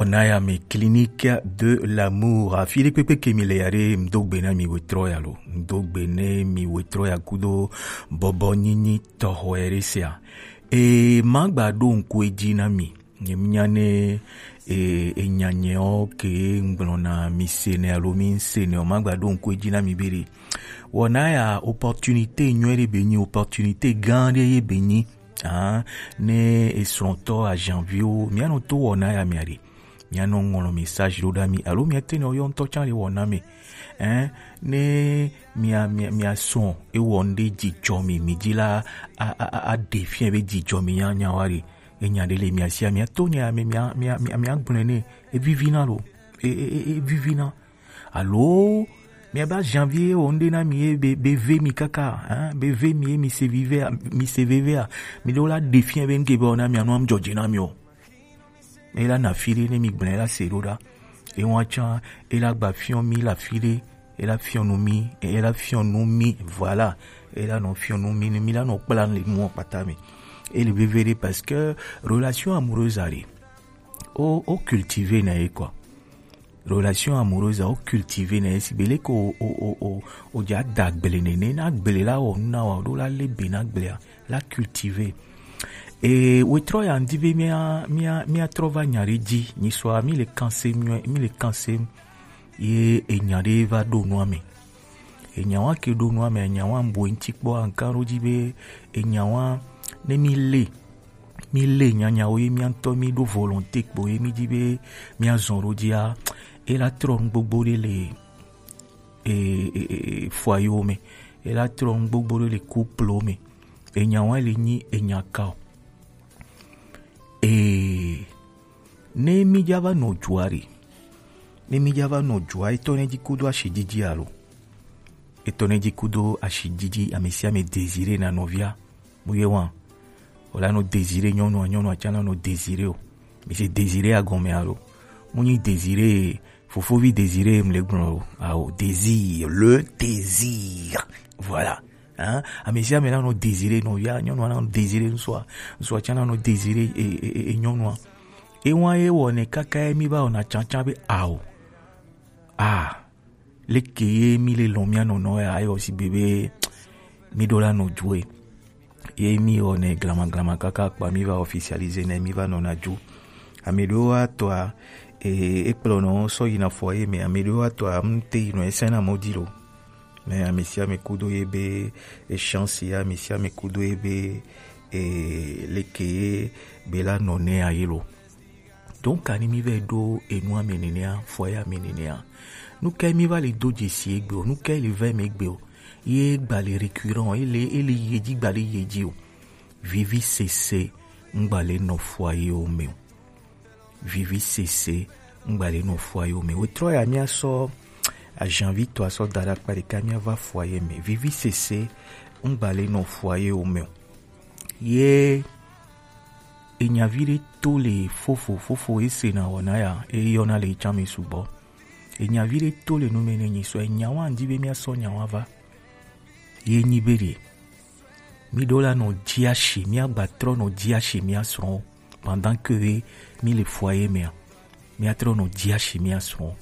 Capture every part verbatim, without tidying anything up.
Wɔna ya mi, Clinique de l'amour. Afi ɖe kpekpe ke mi le ya ɖe, ŋdo gbe na mi wetrɔ ya lo. Ŋdo gbe ne mi wetrɔ ya kudo bɔbɔ nyinyi tɔxɔ ya ɖe sia. E ma gba ɖo ŋku edzi na mi. Nye mi nya ne e, e nya nye o ke ŋgblɔ na mi se ne alo mi se ne o, ma gba ɖo ŋku edzi na mi be ɖe. Wɔna ya opportunité nyuie ɖe be nyi, opportunité gã ɖe ye be nyi. Ah, ne esrɔ̃tɔ ajanviwo, mía nɔ to wɔna ya mea ɖe. Mía nɔ ŋlɔ message ɖo ɖa mi, alo mía te nɔ yɔ ŋutɔ tsã le wɔna me. Hein, ne mía, mía, mía srɔ̃ ewɔ ŋɖe dzidzɔ mi, mi dzi la, a, a, a, a ɖe fiɛ be dzidzɔ mi nya, nya wa ɖe. Enya ɖe le mía sia, mía to nya me, mía, mía, mía, mía gblɔe ne, evivi na lo. E, e, e, evivi na. Alo, miabe ajanvie wɔ ŋɖe na mi ye be, be ve mi kaka, hein, be ve mi ye mi se vivea, mi se vevea, mi ɖo la ɖe fiɛ be ŋke be wɔna mia nu am dzɔdzi na mi o. E la na fi ɖe ne mi gblẽ la se ɖo ɖa. E wa tsã, e la gba fiɔ mi la fi ɖe, e la fiɔ nu mi, e la fiɔ nu mi, voilà. E la nɔ fiɔ nu mi, mi la nɔ kpla le nuɔ kpata me. E le veve ɖe parce que relation amoureuse a ɖe. O, o cultiver na ye quoi. Relation amoureuse a o cultiver na ye si be leke o, o, o, o, o dza da gble nene, na gble la wɔ nu na wa, o ɖo la le be na gblea, la cultiver. E wetrɔ ya ŋdi be mia, mia, mia trɔ va nya ɖe dzi, nyi sɔa, mi le kansem nyuie, mi le kansem, ye enya ɖe va ɖo nua me. Enya wa ke ɖo nua me, enya wa ŋbo ŋti kpɔ, anka ɖo dzi be, enya wa, ne mi le, mi le nyanyawo ye mia ŋutɔ mi ɖo volonté kpo ye mi dzi be mia zɔn ɖo dzia, e la trɔ nu gbogbo ɖe le, e, e, e, e, foyer wo me. E la trɔ nu gbogbo ɖe le couple wo me. Enya wa le nyi enya ka o. E, ne mi dza va nɔ dzoa ɖe, ne mi dza va nɔ dzoa, etɔ ne dzi kudo ashi dzidzi alo? Etɔ ne dzi kudo ashi dzidzi, ame sia ame désiré na nɔvia. Mu ye wa. O la nɔ désiré nyɔnua, nyɔnua tsã la nɔ désiré o. Mi se désiré agɔme alo? Mu nyi désiré, fofovi désiré mu le gblɔ o. Ao, désir, le désir. Voilà. Hein? Ame sia ame la nɔ désiré nɔvia, nyɔnua la nɔ désiré ŋsua, ŋsua tsã la nɔ désiré e, e, e, e, nyɔnua. E wa ye wɔ ne kaka ye mi va wɔna tsantsan be ao. Ah. Leke ye mi le lɔn mia nɔnɔ ya, ayɔ si be be mi ɖo la nɔ dzoe. Ye mi wɔ ne glama glama kaka kpa mi va officialiser ne mi va nɔna dzo. Ame ɖewo wa tɔa, e, ekplɔ nɔ sɔ yina foyer me, ame ɖewo wa tɔa, ŋte yi nɔ ese na mɔ di lo. Mais ame sia ame kudo ye be, e chance ya, ame sia ame kudo ye be, e, leke ye be la nɔ ne ayi lo. Donc, ani mi va ɖo enu ame nenea, foyer ame nenea. Nu kae mi va le do dzesi egbe o, nu kae le va eme egbe o. Ye gba le récurrent o, ele, ele yi edzi gba le yi edzi o. Vivi sese ŋgba le nɔ foyer wo me o. Vivi sese ŋgba le nɔ foyer wo me o. Trɔ ya mia sɔ ajanvi tɔ asɔ da ɖe akpa ɖeka mia va foyer me. Vivi sese ŋgba le nɔ foyer wo me o. Ye enyavi ɖe to le fofo, fofo ese na wɔna ya, eyɔna le etsã me sugbɔ. Enyavi ɖe to le nu me ne nyi sɔ, enya wa ŋdi be mia sɔ nya wa va. Ye nyi be ɖe, mi ɖo la nɔ dzi ashi, mia gba trɔ nɔ dzi ashi mia srɔ̃, pendant que mi le foyer mea, mia trɔ nɔ dzi ashi mia srɔ̃.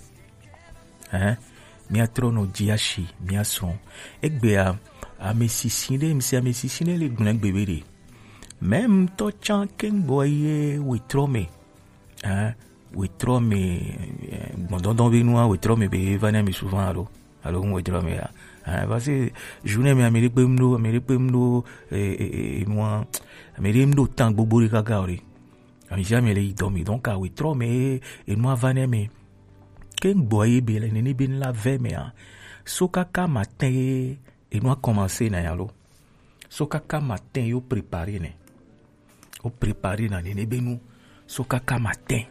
Hein? Mia trɔ nɔ dzi ashi mia srɔ̃. Egbea, ame sisi ɖe, mi se ame sisi ɖe le gblẽ gbe be ɖe. Même tɔ tsã ke gbɔ ye wetrɔ me. Hein? Wetrɔ me, eh, gbɔdɔdɔ be nua, wetrɔ me be va ne mi souvent alo, alo ŋu wetrɔ me ya. Hein, parce que journée me ame ɖe kpe ŋɖo, ame ɖe kpe ŋɖo, eh, eh, eh, nua, ame ɖe ŋɖo tan gbogbo ɖe kaka o ɖe. Ame sia ame le yi dɔ me, donc a wetrɔ me, enua va ne me. Ke gbɔ ye be le nene be la ve me a. So kaka matin ye, enua commencé na ya lo. So kaka matin yo préparé ne. Wo préparé na nene be nu so kaka matin.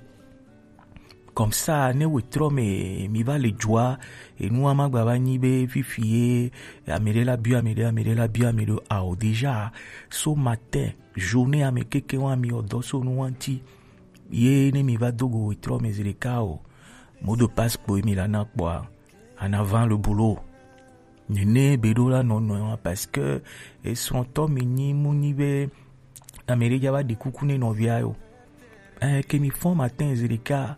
Comme ça, ne wetrɔ me mi va le dzoa, enua ma gba va nyi be fifi ye, ame ɖe la biɔ ame ɖe, ame ɖe la biɔ ame ɖe, ao, déjà, so matin, journée ame keke wa mi ɔdɔ so nu wa ŋti. Ye ne mi va do go wetrɔ me zi ɖeka o, mot de passe kpo mi la na kpɔa, en avant le boulot. Nene be ɖo la nɔnɔ wa, parce que esrɔ̃tɔ mi nyi mu nyi be ame ɖe dza va ɖi kuku ne nɔvia yo. Eh, ke mi fɔn matin zi ɖeka,